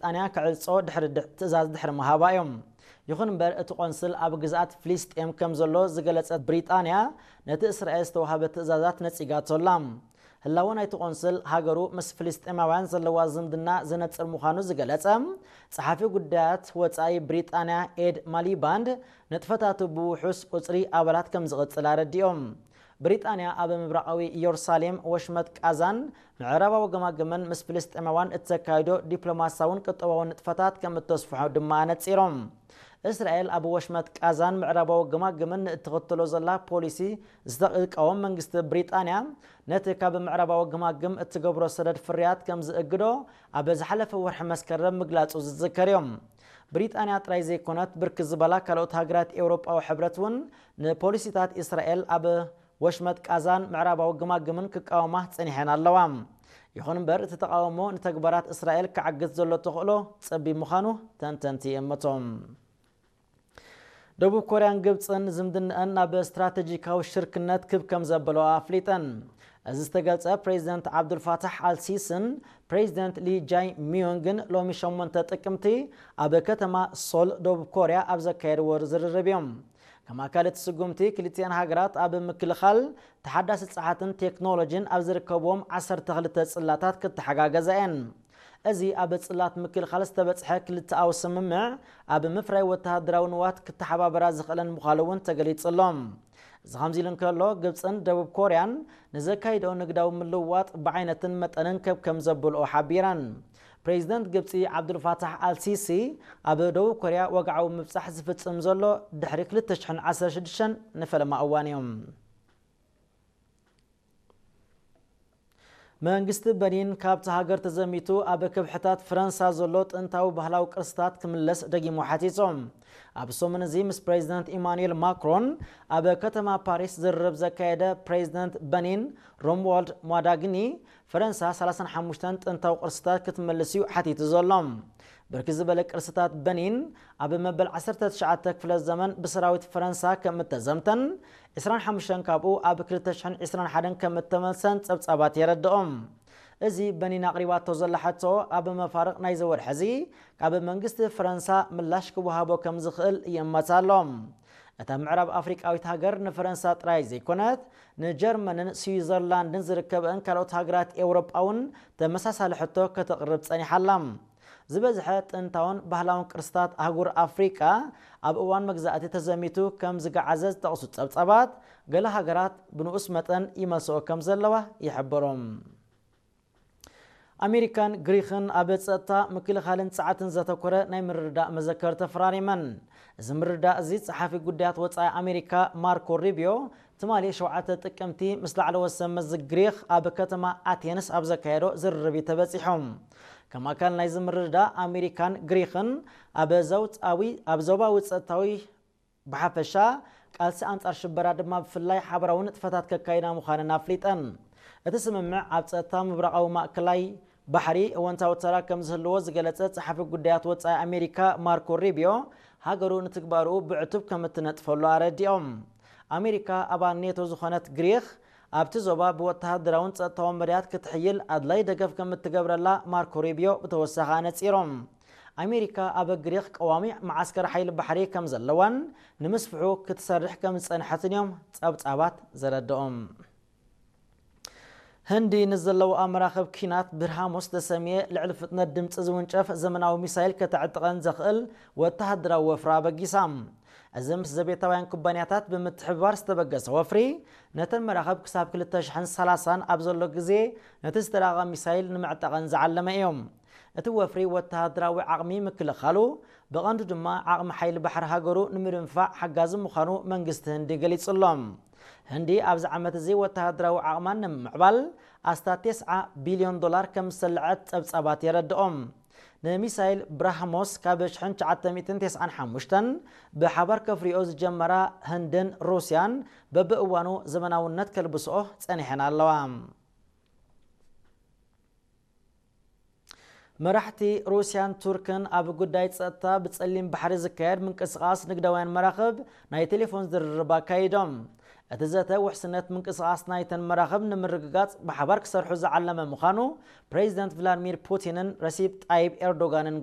ብሪጣንያ ክዕጾ ድሕሪ ድ- ትእዛዝ ድሕሪ ምሃባ እዮም። ይኹን እምበር እቲ ቆንስል ኣብ ግዝኣት ፍልስጤም ከም ዘሎ ዝገለጸት ብሪጣንያ ነቲ እስራኤል ዝተዋህበ ትእዛዛት ነጺጋቶ ኣላ። ህላወ ናይቲ ቆንስል ሃገሩ ምስ ፍልስጤማውያን ዘለዋ ዝምድና ዘነጽር ምዃኑ ዝገለጸ ጸሓፊ ጉዳያት ወጻኢ ብሪጣንያ ኤድ ማሊባንድ ንጥፈታቱ ብውሑስ ቁጽሪ ኣባላት ከም ዝቕጽል ኣረዲኦም። ብሪጣንያ ኣብ ምብራቓዊ ኢየሩሳሌም ወሽመጥ ቃዛን ምዕራባዊ ገማግምን ምስ ፍልስጤማውያን እተካይዶ ዲፕሎማሲያውን ቁጠባውን ንጥፈታት ከም እተስፍሖ ድማ ኣነጺሮም። እስራኤል ኣብ ወሽመጥ ቃዛን ምዕራባዊ ገማግምን ንእትኽተሎ ዘላ ፖሊሲ ዝተቃወም መንግስቲ ብሪጣንያ ነቲ ካብ ምዕራባዊ ገማግም እትገብሮ ሰደድ ፍርያት ከም ዝእግዶ ኣብ ዝሓለፈ ወርሒ መስከረም ምግላጹ ዝዝከር እዮም። ብሪጣንያ ጥራይ ዘይኮነት ብርክት ዝበላ ካልኦት ሃገራት ኤውሮጳዊ ሕብረት እውን ንፖሊሲታት እስራኤል ኣብ ወሽመጥ ቃዛን ምዕራባዊ ግማግምን ክቃወማ ጸኒሐን ኣለዋ። ይኹን እምበር እቲ ተቃውሞ ንተግባራት እስራኤል ክዓግት ዘሎ ተኽእሎ ጸቢብ ምዃኑ ተንተንቲ ይእምቶም። ደቡብ ኮርያን ግብፅን ዝምድንአን ናብ ስትራቴጂካዊ ሽርክነት ክብ ከም ዘበለዋ ኣፍሊጠን። እዚ ዝተገልጸ ፕሬዚደንት ዓብዱልፋታሕ ኣልሲስን ፕሬዚደንት ሊ ጃይ ሚዮንግን ሎሚ ሸሞንተ ጥቅምቲ ኣብ ከተማ ሶል ደቡብ ኮርያ ኣብ ዘካየድዎ ዝርርብ እዮም። ከም ኣካል እቲ ስጉምቲ ክልቲኣን ሃገራት ኣብ ምክልኻል ተሓዳሲ ጸዓትን ቴክኖሎጂን ኣብ ዝርከብዎም ዓሰርተ ክልተ ጽላታት ክተሓጋገዛ እየን። እዚ ኣብ ጽላት ምክልኻል ዝተበጽሐ ክልተኣዊ ስምምዕ ኣብ ምፍራይ ወተሃደራዊ ንዋት ክተሓባበራ ዝኽእለን ምዃኑ እውን ተገሊጹ ኣሎ። እዚ ከምዚ ኢሉ እንከሎ ግብፅን ደቡብ ኮርያን ንዘካይድኦ ንግዳዊ ምልውዋጥ ብዓይነትን መጠንን ከብ ከም ዘብልኦ ሓቢረን። ፕሬዚደንት ግብፂ ዓብዱልፋታሕ ኣልሲሲ ኣብ ደቡብ ኮርያ ወግዓዊ ምብፃሕ ዝፍፅም ዘሎ ድሕሪ ክልተ ሽሕን ዓሰርተ ሽዱሽተን ንፈለማ እዋን እዮም። መንግስቲ በኒን ካብቲ ሃገር ተዘሚቱ ኣብ ከብሕታት ፈረንሳ ዘሎ ጥንታዊ ባህላዊ ቅርስታት ክምለስ ደጊሙ ሓቲቱ። ኣብ ሰሙን እዚ ምስ ፕሬዚደንት ኢማኑኤል ማክሮን ኣብ ከተማ ፓሪስ ዝርርብ ዘካየደ ፕሬዚደንት በኒን ሮምዋልድ ሟዳግኒ ፈረንሳ ሰላሳን ሓሙሽተን ጥንታዊ ቅርስታት ክትመልስ እዩ ሓቲቱ ዘሎ። ብርክት ዝበለ ቅርስታት በኒን ኣብ መበል ዓሰርተ ትሽዓተ ክፍለ ዘመን ብሰራዊት ፈረንሳ ከም እተዘምተን ዕስራን ሓሙሽተን ካብኡ ኣብ ክልተ ሽሕን ዕስራን ሓደን ከም እተመልሰን ጸብጻባት የረድኦም። እዚ በኒን ኣቕሪባቶ ዘላ ሕቶ ኣብ መፋርቕ ናይዚ ወርሒ እዚ ካብ መንግስቲ ፈረንሳ ምላሽ ክወሃቦ ከም ዝኽእል ይእመት ኣሎ። እታ ምዕራብ ኣፍሪቃዊት ሃገር ንፈረንሳ ጥራይ ዘይኮነት ንጀርመንን ስዊዘርላንድን ዝርከበን ካልኦት ሃገራት ኤውሮጳ እውን ተመሳሳሊ ሕቶ ከተቕርብ ጸኒሓ ኣላ። ዝበዝሐ ጥንታውን ባህላውን ቅርስታት ኣህጉር ኣፍሪቃ ኣብ እዋን መግዛእቲ ተዘሚቱ ከም ዝገዓዘ ዝጠቕሱ ጸብጻባት ገለ ሃገራት ብንኡስ መጠን ይመልስኦ ከም ዘለዋ ይሕብሩ። ኣሜሪካን ግሪኽን ኣብ ጸጥታ ምክልኻልን ጸዓትን ዘተኮረ ናይ ምርድዳእ መዘከር ተፈራሪመን። እዚ ምርድዳእ እዚ ጸሓፊ ጉዳያት ወጻኢ ኣሜሪካ ማርኮ ሩቢዮ ትማሊ ሸውዓተ ጥቅምቲ ምስ ላዕለዎት ሰብ መዚ ግሪኽ ኣብ ከተማ ኣቴንስ ኣብ ዘካየዶ ዝርርብ እዩ ተበጺሑ። ከም ኣካል ናይዚ ምርድዳእ ኣሜሪካን ግሪኽን ኣብ ዘውጻዊ ኣብ ዞባዊ ጸጥታዊ ብሓፈሻ ቃልሲ ኣንጻር ሽበራ ድማ ብፍላይ ሓበራዊ ንጥፈታት ከካይዳ ምዃነን ኣፍሊጠን። እቲ ስምምዕ ኣብ ጸጥታ ምብራቓዊ ማእከላይ ባሕሪ እወንታዊ ተራ ከም ዝህልዎ ዝገለጸ ጸሓፊ ጉዳያት ወጻኢ ኣሜሪካ ማርኮ ሩቢዮ ሃገሩ ንትግባርኡ ብዕቱብ ከም እትነጥፈሉ ኣረዲኦም። ኣሜሪካ ኣባል ኔቶ ዝኾነት ግሪኽ ኣብቲ ዞባ ብወተሃደራውን ጸጥታውን መዳያት ክትሕይል ኣድላይ ደገፍ ከም እትገብረላ ማርኮ ሩቢዮ ብተወሳኺ ኣነጺሮም። ኣሜሪካ ኣብ ግሪኽ ቀዋሚ መዓስከር ሓይሊ ባሕሪ ከም ዘለዋን ንምስፍሑ ክትሰርሕ ከም ዝጸንሐትን እዮም ጸብጻባት ዘረድኦም። ህንዲ ንዘለዋ መራኽብ ኪናት ብርሃሞስ ዝተሰምየ ልዕሊ ፍጥነት ድምፂ ዝውንጨፍ ዘመናዊ ሚሳይል ከተዕጥቐን ዘኽእል ወተሃደራዊ ወፍሪ ኣበጊሳ። እዚ ምስ ዘቤታውያን ኩባንያታት ብምትሕብባር ዝተበገሰ ወፍሪ ነተን መራኽብ ክሳብ ክልተ ሽሕን ሰላሳን ኣብ ዘሎ ግዜ ነቲ ዝተራቐቐ ሚሳይል ንምዕጣቐን ዝዓለመ እዩ። እቲ ወፍሪ ወተሃደራዊ ዓቕሚ ምክልኻሉ ብቐንዱ ድማ ዓቕሚ ሓይሊ ባሕሪ ሃገሩ ንምድንፋዕ ሓጋዚ ምዃኑ መንግስቲ ህንዲ ገሊጹ ኣሎ። ህንዲ ኣብዚ ዓመት እዚ ወተሃደራዊ ዓቕማን ንምምዕባል ኣስታት ተስዓ ቢልዮን ዶላር ከም ዝሰልዐት ጸብጻባት የረድኦም። ንሚሳይል ብራህሞስ ካብ ሽሕን ትሽዓተ ሚእትን ተስዓን ሓሙሽተን ብሓባር ከፍርዮ ዝጀመራ ህንድን ሩስያን በብእዋኑ ዘመናውነት ከልብስኦ ጸኒሐን ኣለዋ። መራሕቲ ሩስያን ቱርክን ኣብ ጉዳይ ጸጥታ ብጸሊም ባሕሪ ዝካየድ ምንቅስቓስ ንግዳውያን መራኽብ ናይ ቴሌፎን ዝርርብ ኣካይዶም። እቲ ዘተ ውሕስነት ምንቅስቓስ ናይተን መራኽብ ንምርግጋጽ ብሓባር ክሰርሑ ዝዓለመ ምዃኑ ፕሬዚደንት ቭላድሚር ፑቲንን ረሲፕ ጣይብ ኤርዶጋንን